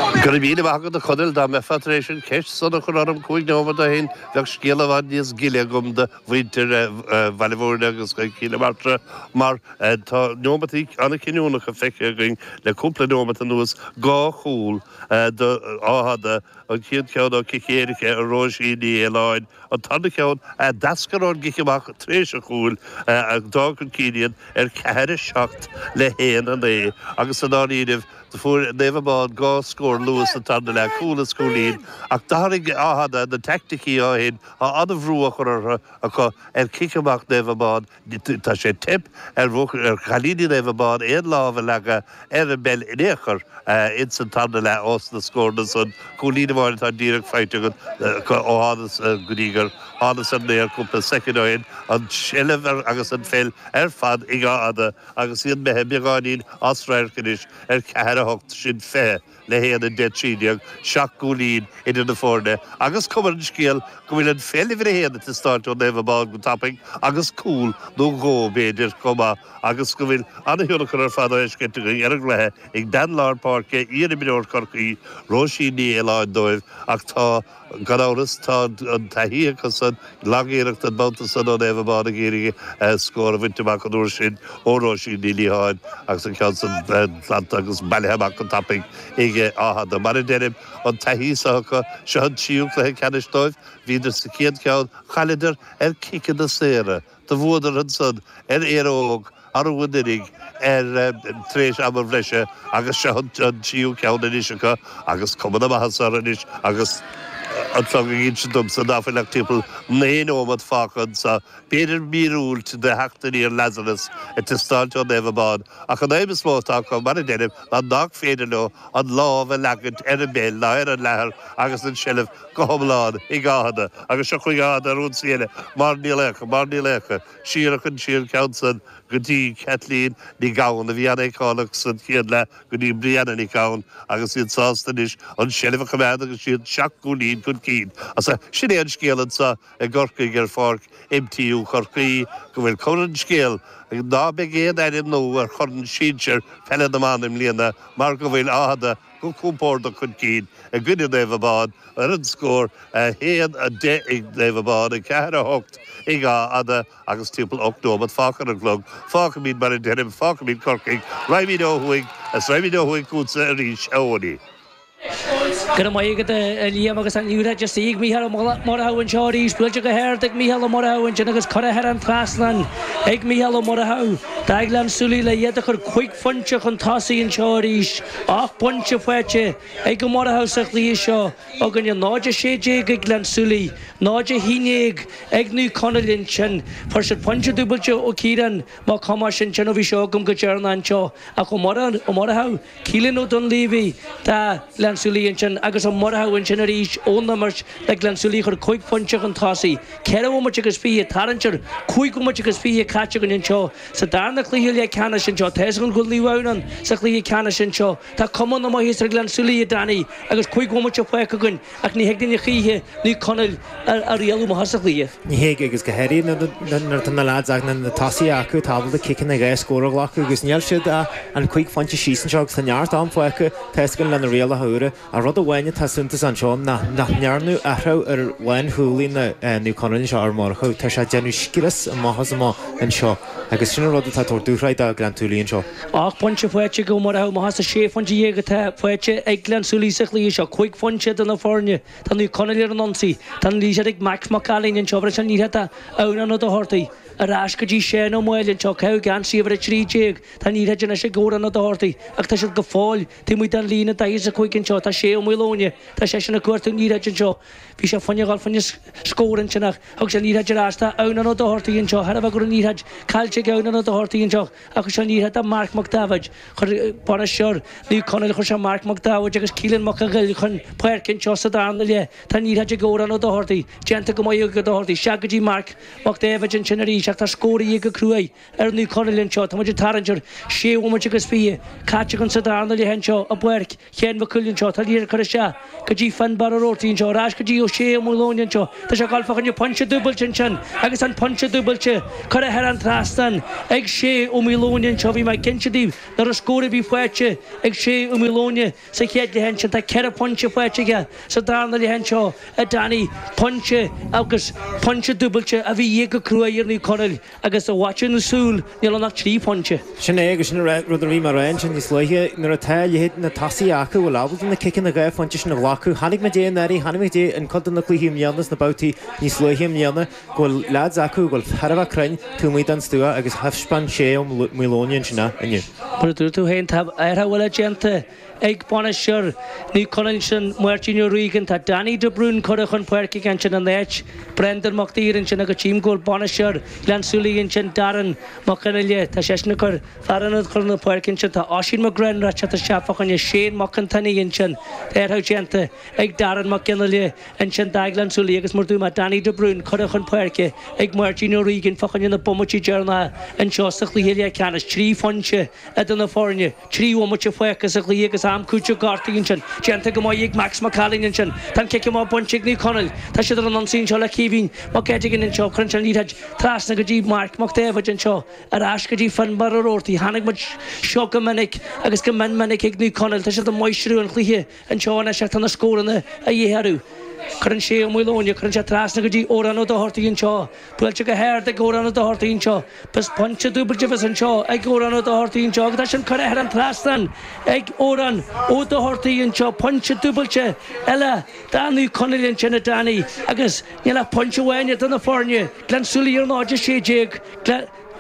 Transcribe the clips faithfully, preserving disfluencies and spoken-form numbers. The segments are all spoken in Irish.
Go raibh míle maith agat a Chonaill dá mbeifeá tar éis an cheist san a chur orm cúig nóiméad ó shin bheadh scéal i bhfad níos gile agam do mhuintir Bhaile Bhúirne agus Chill Martra mar tá nóiméadaí an-chinniúnacha feicthe againn le cúpla nóiméad anuas dhá chúl do Fhátha an chéad cheann ó chic éirice ó Róisín Ní Fhaoláin an tarna ceann a d'eascair ón gcic amach tar éis an chúil a d'fhág chun cinn iad ar ceathair a seacht le haon a naoi agus san áireamh fuair Naomh Abán dhá scór luath sa tarna leath cúl is cúilín ach d'athraigh Áth na teaicticí ó shin tá an-bhrú á chur orthu acu ar chic amach Naomh Abán tá sé teip ar ar chailíní Naomh Abán aon lámh a leagadh ar an bpeil in aon chor ins an tarna leath ós na scóranna san cúilín amháin atá díreach faighte agat ó thánas go dtí gur thánas ar an aer cúpla soicind ó shin an tseilbh agus an pheil ar fad ag Áth agus iad imithe beagáinín as radharc anois ar ceathair a hocht sin fiche le haon a deich trí déag seacht gcúilín idir na foirne agus cuma ar an scéal go bhfuil an pheil uimhir a haon ag teastáilt ó Naomh Abán go tapaidh agus cúl nó dhó b'fhéidir chomh maith agus go bhfuil an-thionchar ar fad á fheiscint againn ar an gcluiche ag bean lár páirce iarimreoir Chorcaí Róisín Ní Fhaoláin dóibh ach tá gan amhras tá an taithí acu san lagiarracht an babhta san ó Naomh Abán ag iarraidh scór a bhaint amach an uair sin ó Róisín Ní Liatháin agus an ceann san glanta agus bailithe amach go tapaidh ag Áth Mar a deirim an taithí acu seo an tríú cluiche ceannais dóibh bhíodar sa chéad cheann chailleadar ar chiceanna saora do bhuadar ansan ar Éire Óg arú anuraidh ar tar éis ama bhreise agus seo an tríú ceann anois acu agus cuma na maitheasa orthu anois agus an clog ag insint domsa ná fuil ach timpeall naoi nóiméad fágtha anseo b'fhéidir míorúilt de theacht aniar Lazarus ag teastáilt ó Naomh Abán ach an aidhm is mó atá acu mar a deirim ná nach féidir leo an lámh a leagaint ar an bpeil ná ar an leathar agus an tseilbh go hiomlán ag Áth agus seo chuig Áth ar ionsaí eile mar Ní Laocha mar Ní Laocha siar chun siar ceann san go dtí Kathleen Ní Gabhann a bhí an-fheiceálach san chéad leath go dtí Brianna Ní Gabhann agus iad sásta anois an tseilbh a choimeád agus siad seacht gcúilín chun cinn. As sin é an scéal anseo i gCorcaigh ar pháirc MTU Chorcaí go bhfuil cuma ar an scéal ná beidh aon ainm nua ar chorn sinsir peile na mban i mbliana mar go bhfuil Áth go compordach chun cinn i gcoinne Naomh Abán ar an scór a haon a deich ag Naomh Abán a ceathair a hocht ag Áth agus timpeall ocht nóiméad fágtha ar an gclog fágfaimid mar a deirim fágfaimid Corcaigh raghaimid ó thuaidh is raghaimid ó thuaidh chugatsa arís a Eoiní. Go raibh maith agat a Liam agus an liathróid istigh ag Mícheál Ó Murchú anseo arís buailte go hard ag Mícheál Ó Murchú ansin agus curtha thar an trasnán ag Mícheál Ó Murchú. D'fhág Gleann tSúilí le iad a chur cúig phointe chun tosaigh anseo arís ocht bpointe faighte ag Ó Murchú sa chluiche seo againne náid a sé déag ag Gleann tSúilí, náid a haon déag ag Naomh Conaill ansin. Fuair siad pointe dúbailte ó Ciarán Mac Thomáis ansin ó bhí seo agam go deireanach anseo ach Ó Murchú, Keelan Ó Dunleavy do Ghleann tSúilí ansin agus Ó Murchú ansin arís ón imirt le Gleann tSúilí chur cúig phointe chun tosaigh. Ceithre bhomaite agus fiche tarraingt ar cúig bhomaite agus fiche caite againn anseo sa darna cluiche leathcheannais anseo. Tá an go Liamhán sa chluiche ceannais anseo. Tá cuma na maitheasa ar Ghleann tSúilí a Danny agus cúig bhomaite fágtha againn ach ní thig linn choíche Naomh Conaill a rialú amach as an chluiche. Ní thig agus go háirithe nuair atá na lads ag na tosaithe acu tá ábalta ciceanna dhá scór a ghlacadh agus níl siad an cúig phointe síos anseo agus tá neart am fágtha tá lena rialacha úra a rud amháin atá suntasach anseo nach ndearnadh athrú ar lánchúlaí na Naomh Conaill anseo ar Murchú tá sé déanamh scrios amach as amach anseo agus sin an rud atá tabhairt dúshláin do Ghleann tSúilí anseo. Ocht bpointe faighte ag Ó Murchú amach as sé phointe dhéag atá faighte ag Gleann tSúilí sa chluiche seo cúig phointe do na foirne Tá Naomh Conaill ar an ionsaí Tá an liathróid ag Max Mac Ailín anseo bhreis an liathróid Adhamhnán Ó Dochartaigh ar ais go dtí Seán Ó Máille anseo caitheamh geansaí uimhir a trí déag Tá an liathróid anois ag Odhrán Ó Dochartaigh ach tá siad go fóill taobh amuigh den líne daichead is a cúig anseo tá sé Ó Maoileoine tá seisean ag cuartú an liathróid anseo bhí sé fá choinne dhul fá choinne scór ansin ach thug sé an liathróid ar ais tá Adhamhnán Ó Dochartaigh anseo thar a bheith go raibh an liathróid caillte ag Adhamhnán Ó Dochartaigh anseo ach chuir sé an liathróid do Mark Mac David chuir bainisteoir Naomh Conaill chuir sé Mark Mac David agus Keelan Mac an Ghill chun páirce anseo sa darna leath Tá an liathróid ag Odhrán Ó Dochartaigh déanta go maith ag Ó Dochartaigh isteach go dtí Mark Mac David ansin arís arís ach tá scór de dhíth go cruaidh ar Naomh Conaill anseo. Tá muid ag tarraingt ar sé bhomaite agus fiche caite againn sa darna leath anseo i bPáirc Sheáin Mhic Cumhaill anseo. Tá liathróid curtha isteach go dtí Fionnbarra Ó Roarty anseo, ar ais go dtí Ó Sé Ó Maoileoin anseo. Tá sé ag dul fá choinne pointe dúbailte ansin agus an pointe dúbailte curtha thar an trasnán ag Sé Ó Maoileoin anseo. Bhí mé ag inse daoibh nach raibh scór ar bith faighte ag Sé Ó Maoileoin sa chéad leath ansin. Tá ceithre phointe faighte aige sa darna leath anseo a Danny. Pointe agus pointe dúbailte a bhí de dhíth go cruaidh ar Naomh Conaill agus i bhfaiteadh na súl níl ann ach trí phointe. Sin é agus sin rud a bhí mé a rá ansin níos luaithe, nuair atá a leithéid na tosaithe acu bhfuil ábalta na ciceanna dhá phointe sin a ghlacadh. Chonaic muid é anuraidh, chonaic muid é in cuid de na cluichí i mbliana sna babhtaí níos luaithe i mbliana go bhfuil leaids acu go bhfuil thar a bheith cruinn taobh amuigh den stua agus thaispeáin Sé Ó Maoileoin ansin é inniu. Mar a dúirt tú féin, tá athrú eile déanta ag bainisteoir Naomh Conaill ansin, Máirtín Ó Riagáin. Tá Danny de Brún curtha chun páirce aige ansin in áit Brendan Mac Uidhir ansin agus tchím go bhfuil bainisteoir Ghleann tSúilí ansin, Darren Mac Fhionnghaile, tá seisean ag cur fear ionaid chun na páirce ansin. Tá Oisín McGrath ag teacht isteach fá choinne Shane Mac an tSionnaigh ansin. Tá athrú déanta ag Darren Mac Fhionnghaile ansin do Ghleann tSúilí agus mar a dúirt mé Danny de Brún curtha chun páirce ag Máirtín Ó Riagáin fá choinne na bomaití deireanacha anseo sa chluiche leathcheannais. Trí phointe idir na foirne, trí bhomaite fágtha sa chluiche agus am cúitimh gortaithe ansin. Déanta go maith ag Max Mac Ailín ansin. Tá an cic amach bainte ag Naomh Conaill. Tá siad ar an ionsaí anseo le Caoimhín Mac Eiteagáin anseo. Cuireann sé an liathróid trasna go dtí Marc Mac Daibhéid anseo. Ar ais go dtí Fionnbarra Ó Roarty. Chonaic muid seo go minic agus go mion minic ag Naomh Conaill. Tá siad ag máistriú an chluiche anseo anois ach tá na scóranna a dhíth orthu. Cuireann sé Ó Maoileoin, cuireann sé trasna go dtí Odhrán Ó Dochartaigh anseo. Buailte go hard ag Odhrán Ó Dochartaigh anseo. B'as pointe dúbailte a bheas anseo ag Odhrán Ó Dochartaigh anseo agus tá sin curtha thar an trasnán ag Odhrán Ó Dochartaigh anseo. Pointe dúbailte eile do Naomh Conaill ansin a Danny agus níl ach pointe amháin idir na foirne, Gleann tSúilí ar náid a sé déag,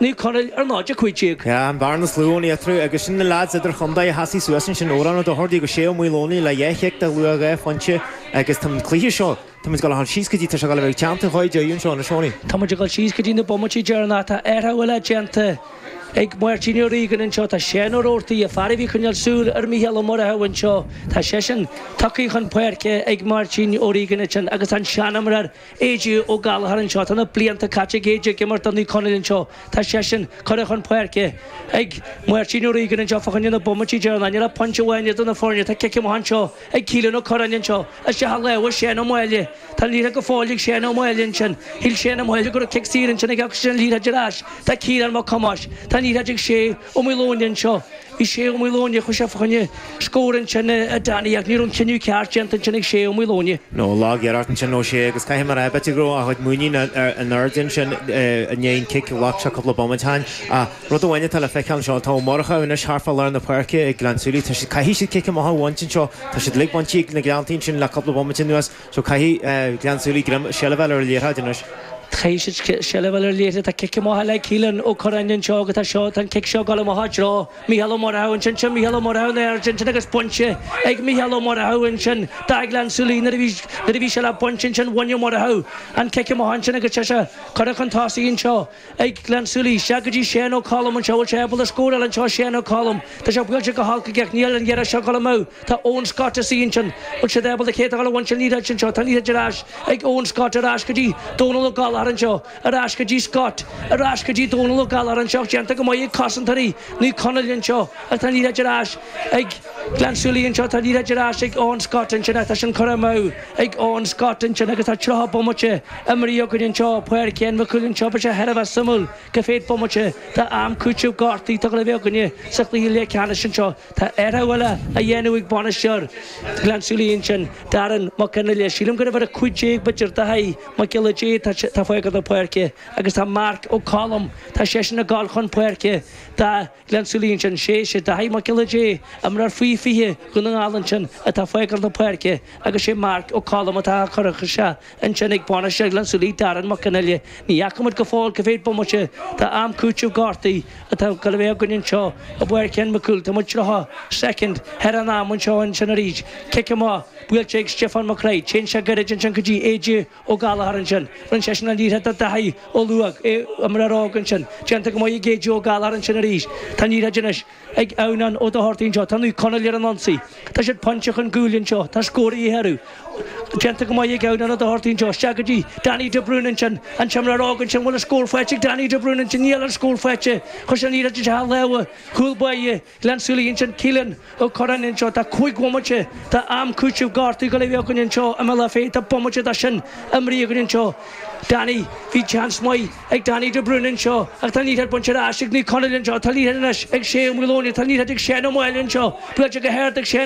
Naomh Conaill ar náid a cúig déag. Yeah, an bhearna is lú ann eatarthu agus sin na leaids idirchontae a sheasaigh suas ansin, Odhrán Ó Dochartaigh agus Sé Ó Maoileoin le dhá chic de luach dhá phointe agus tá an cluiche seo, tá muid ag dul síos go dtí, tá sé ag dul a bheith ag teannta dhá deireadh anseo anois, Tony. Tá muid ag dul síos go dtí na bomaití deireanacha, tá athrú eile déanta ag Máirtín Ó Riagáin anseo, tá Seán Ó Roarty, an fear a bhí ag coinneáil súil ar Mhícheál Ó Murchú anseo, tá seisean tugtha chun páirce ag Máirtín Ó Riagáin ansin agus an seanimreoir A J Ó Gallchóir anseo. Tá na blianta caite ag A J ag imirt do Naomh Conaill anseo. Tá seisean curtha chun páirce ag Máirtín Ó Riagáin anseo fá choinne na bomaití deireanacha. Níl ach pointe amháin idir na foirne. Tá cic amach anseo ag Keelan Ó Curráin anseo. Isteach i lámha Seán Ó Máille. Tá an liathróid go fóill ag Seán Ó Máille ansin. Shíl Seán Ó Máille go raibh cic saor ansin aige agus sin an liathróid ar ais do Ciarán Mac Thomáis. Tá an liathróid ag Sé Ó Maoileoin anseo. Bhí Sé Ó Maoileoin, chuaigh sé fá choinne scór ansin a Danny ach ní raibh an cinneadh ceart déanta ansin ag Sé Ó Maoileoin. No, lag-iarracht ansin ó Shé agus caithfidh mé a rá, b'fhéidir go raibh a chuid muiníne in airde ansin i ndiaidh an cic a ghlac sé cúpla bomaite ó shin. Ach rud amháin atá le feiceáil anseo, tá Ó Murchú anois thart fá lár na páirce ag Gleann tSúilí. Tá siad, caithfidh siad cic amach a bhaint anseo. Tá siad uilig bainte ag na Gleanntaí ansin le cúpla bomaite anuas so caithfidh Gleann tSúilí greim, seilbh a fháil ar an liathróid anois. Caithfidh siad seilbh a fháil ar an liathróid. Tá cic amach eile ag Keelan Ó Curráin anseo agus tá seo, tá an cic seo ag dul amach i dtreo Mícheál Ó Murchú ansin. Sin Mícheál Ó Murchú in airde ansin agus bainte ag Mícheál Ó Murchú ansin do Ghleann tSúilí nuair a bhí, nuair a bhí sé le baint ansin bhain Ó Murchú an cic amach ansin agus tá sé curtha chun tosaigh anseo ag Gleann tSúilí. Isteach go dtí Shane Ó Colm anseo. Bhfuil sé ábalta scóráil anseo Shane Ó Colm? Tá sé buailte go holc aige ach níl an iarraidh seo ag dul amú. Tá Eoin Scott istigh ansin. Bhfuil siad ábalta cé atá ag dul a bhaint an liathróid anseo? Tá an liathróid ar ais ag Eoin Scott ar ais go dtí Dónal Ó Gallchóir anseo. Ar ais go dtí Scott. Ar ais go dtí Dónal Ó Gallchóir anseo. Déanta go maith ag cosantóirí Naomh Conaill anseo. Ach tá an liathróid ar ais ag Gleann tSúilí anseo. Tá an liathróid ar ais ag Eoin Scott ansin. Ach tá sin curtha amú ag Eoin Scott ansin agus tá tríocha bomaite imeartha againn anseo. Páirc Sheáin Mhic Cumhaill anseo. Beidh sé thar a bheith suimiúil cá mhéad bomaite d'am cúitimh gortaithe atá le bheith againne sa chluiche leathcheannais anseo. Tá athrú eile á dhéanamh ag bainisteoir Ghleann tSúilí ansin, Darren Mac Fhionnghaile. Sílim gur uimhir a cúig déag b'fhéidir Daithí Mac Giolla Dé atá fágáil na páirce agus tá Marc Ó Colm, tá seisean ag gabháil chun páirce do Ghleann tSúilí ansin. Sé sé Daithí Mac Giolla Dé, imreoir faoi fiche Dhún na nGall ansin atá fágáil na páirce agus sé Marc Ó Colm atá á chur isteach ansin ag bainisteoir Ghleann tSúilí, Darren Mac Fhionnghaile. Ní fhaca muid go fóill cá mhéad bomaite d'am cúitimh gortaithe atá ag dul a bheith againn anseo i bPáirc Sheáin Mhic Cumhaill. Tá muid tríocha soicind thar an am anseo ansin arís. Cic amach buailte ag Stiofán Mac Craith. Téann sé gairid ansin go dtí A J Ó Gallchóir ansin. Rinne seisean an liathróid do Dhaithí Ó Luaig, imreoir óg ansin. Déanta go maith ag A J Ó Gallchóir ansin arís. Tá an liathróid anois ag Adhamhnán Ó Dochartaigh anseo. Tá Naomh Conaill ar an ionsaí. Tá siad pointe chun cúil anseo. Tá scór de dhíth orthu. Déanta go maith ag Ionad an Chortaí anseo, isteach go dtí Danny de Brún ansin, an t-imreoir óg ansin, bhfuil an scór faighte ag Danny de Brún ansin, níl an scór faighte, chuir sé an liathróid isteach i lámha chúl báire Ghleann tSúilí ansin, Keelan Ó Curráin anseo, tá cúig bhomaite de am cúitimh gortú go leith againn anseo i mBealach Féich, tá bomaite de sin imrithe againn anseo. Danny, bhí seans maith ag Danny de Brún anseo ach tá an liathróid bainte ar ais ag Naomh Conaill anseo, tá an liathróid anois ag Shea Ó Maoileoin, tá an liathróid ag Seán Ó Máille anseo, buailte go hard ag Seán.